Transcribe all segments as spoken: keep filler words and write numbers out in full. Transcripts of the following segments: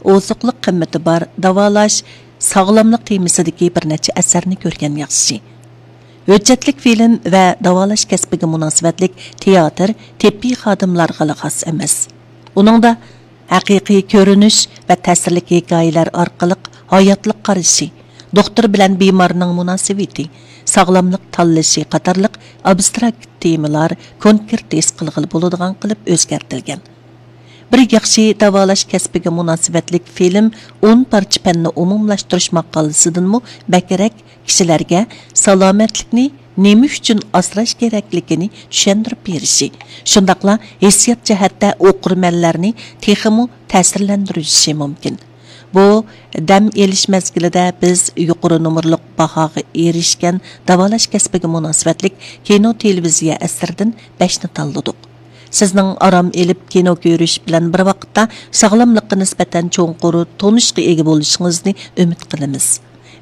ئوزۇقلۇق قىممىتى بار داۋالاش، ساغلاملىق تېمىسىدىكى بىر نەچچە ئەسەرنى كۆرگەن ياخشى. ھۆججەتلىك فىلىم ۋە داۋالاش كەسپىگە مۇناسىۋەتلىك تىياتىر تېببىي خادىملارغىلا خاس ئەمەس. ئۇنىڭدا ھەقىقىي كۆرۈنۈش ۋە تەسىرلىك ھېكايىلەر ئارقىلىق ھاياتلىق قارىشى، دوختۇر بىلەن بىمارنىڭ مۇناسىۋىتى، ساغلاملىق تاللىشى قاتارلىق ئابستراكت تېمىلار كونكرېت ھېس قىلغىلى بولىدىغان قىلىپ ئۆزگەرتىلگەن. بىر ياخشى داۋالاش كەسپىگە مۇناسىۋەتلىك فىلىم ئون پارچە پەننى ئومۇملاشتۇرۇش ماقالىسىدىنمۇ بەكرەك كىشىلەرگە سالامەتلىكنى نېمە ئۈچۈن ئاسراش كېرەكلىكىنى چۈشەندۈرۈپ بېرىشى، شۇنداقلا ھېسسىيات جەھەتتە ئوقۇرمەنلەرنى تېخىمۇ تەسىرلەندۈرۈشى مۇمكىن. بۇ دەم ئېلىش مەزگىلىدە بىز يۇقىرى نومۇرلۇق باھاغا ئېرىشكەن داۋالاش كەسپىگە مۇناسىۋەتلىك كىنو، تېلېۋىزىيە ئەسىرىدىن بەشنى تاللىدۇق. سىزنىڭ ئارام ئېلىپ كىنو كۆرۈش بىلەن بىر ۋاقىتتا ساغلاملىققا نىسبەتەن چوڭقۇر تونۇشقا ئىگە بولۇشىڭىزنى ئۈمىد قىلىمىز.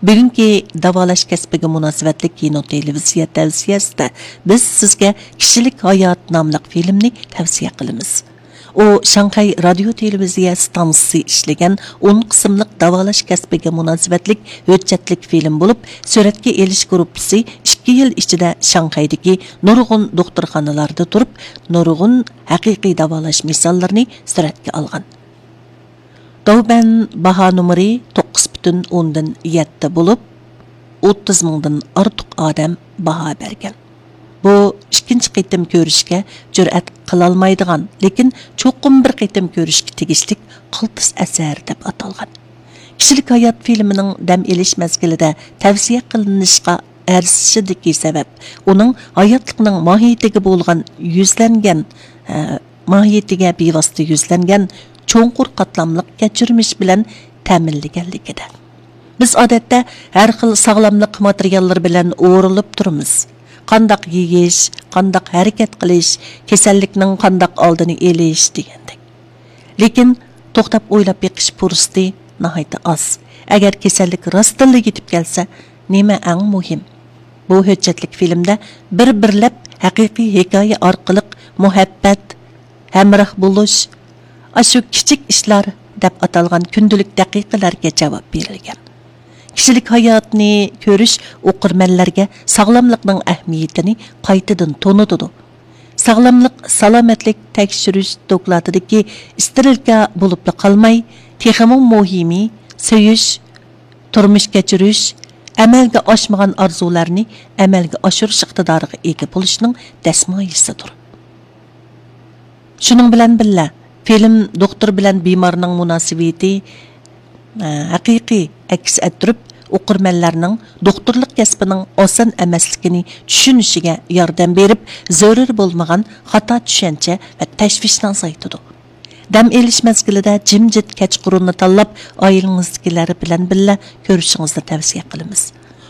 بۈگۈنكى داۋالاش كەسپىگە مۇناسىۋەتلىك كىنو، تېلېۋىزىيە تەۋسىيەسىدە بىز سىزگە كىشىلىك ھايات ناملىق فىلىمنى تەۋسىيە قىلىمىز. ئۇ شاڭخەي رادىيو تېلېۋىزىيە ستانسىسى ئىشلىگەن ئون قىسىملىق داۋالاش كەسپىگە مۇناسىۋەتلىك ھۆججەتلىك فىلىم بولۇپ، سۈرەتكە ئېلىش گۇرۇپپىسى ئىككى يىل ئىچىدە شاڭخەيدىكى نۇرغۇن دوختۇرخانىلاردا تۇرۇپ، نۇرغۇن ھەقىقىي داۋالاش مىساللىرىنى سۈرەتكە ئالغان. داۋبەن باھا نومۇرى توققۇز پۈتۈن ئوندىن يەتتە بولۇپ، ئوتتۇز مىڭدىن ئارتۇق ئادەم باھا بەرگەن. بۇ ئىككىنچى قېتىم كۆرۈشكە جۈرئەت قىلالمايدىغان، لېكىن چوقۇم بىر قېتىم كۆرۈشكە تېگىشلىك قالتىس ئەسەر دەپ ئاتالغان. كىشىلىك ھايات فىلىمىنىڭ دەم ئېلىش مەزگىلىدە تەۋسىيە قىلىنىشقا ئەرزىشىدىكى سەۋەب، ئۇنىڭ ھاياتلىقنىڭ ماھىيىتىگە بولغان يۈزلەنگەن، ھە، ماھىيىتىگە بىۋاسىتە يۈزلەنگەن چوڭقۇر قاتلاملىق كەچۈرمىش بىلەن تەمىنلىگەنلىكىدە. بىز ئادەتتە ھەر خىل ساغلاملىق ماتېرىياللىرى بىلەن ئورىلىپ تۇرىمىز. قانداق يېيىش، قانداق ھەرىكەت قىلىش، كېسەللىكنىڭ قانداق ئالدىنى ئېلىش دېگەندەك. لېكىن توختاپ ئويلاپ بېقىش پۇرسىتى ناھايىتى ئاز. ئەگەر كېسەللىك راستتىنلا يېتىپ كەلسە، نېمە ئەڭ مۇھىم؟ بۇ ھۆججەتلىك فىلىمدە بىر-بىرلەپ ھەقىقىي ھېكايە ئارقىلىق مۇھەببەت، ھەمراھ بولۇش، ئاشۇ كىچىك ئىشلار دەپ ئاتالغان كۈندىلىك دەقىقىلەرگە جاۋاب بېرىلگەن. كىشىلىك ھاياتنى كۆرۈش ئوقۇرمەنلەرگە ساغلاملىقنىڭ ئەھمىيىتىنى قايتىدىن تونۇتىدۇ. ساغلاملىق، سالامەتلىك تەكشۈرۈش دوكلاتىدىكى ئىسترېلكا بولۇپلا قالماي، تېخىمۇ مۇھىمى، سۆيۈش، تۇرمۇش كەچۈرۈش، ئەمەلگە ئاشمىغان ئارزۇلارنى ئەمەلگە ئاشۇرۇش ئىقتىدارىغا ئىگە بولۇشنىڭ دەسمايىسىدۇر. شۇنىڭ بىلەن بىللە، فىلىم دوختۇر بىلەن بىمارنىڭ مۇناسىۋىتى، ئە، ھەقىقىي ئەكس ئەتتۈرۈپ، ئوقۇرمەنلەرنىڭ دوختۇرلۇق كەسپىنىڭ ئاسان ئەمەسلىكىنى چۈشىنىشىگە ياردەم بېرىپ، زۆرۈر بولمىغان خاتا چۈشەنچە ۋە تەشۋىشنى ئازايتىدۇ. دەم ئېلىش مەزگىلىدە جىمجىت كەچقۇرۇننى تاللاپ، ئائىلىڭىزدىكىلەر بىلەن بىللە كۆرۈشۈڭىزنى تەۋسىيە قىلىمىز.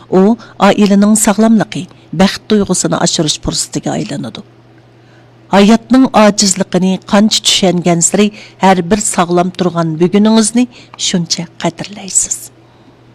ئۇ ئائىلىنىڭ ساغلاملىقى، بەخت تۇيغۇسىنى ئاشۇرۇش پۇرسىتىگە ئايلىنىدۇ. ھاياتنىڭ ئاجىزلىقىنى قانچە چۈشەنگەنسېرى، ھەر بىر ساغلام تۇرغان بۈگۈنىڭىزنى شۇنچە قەدىرلەيسىز.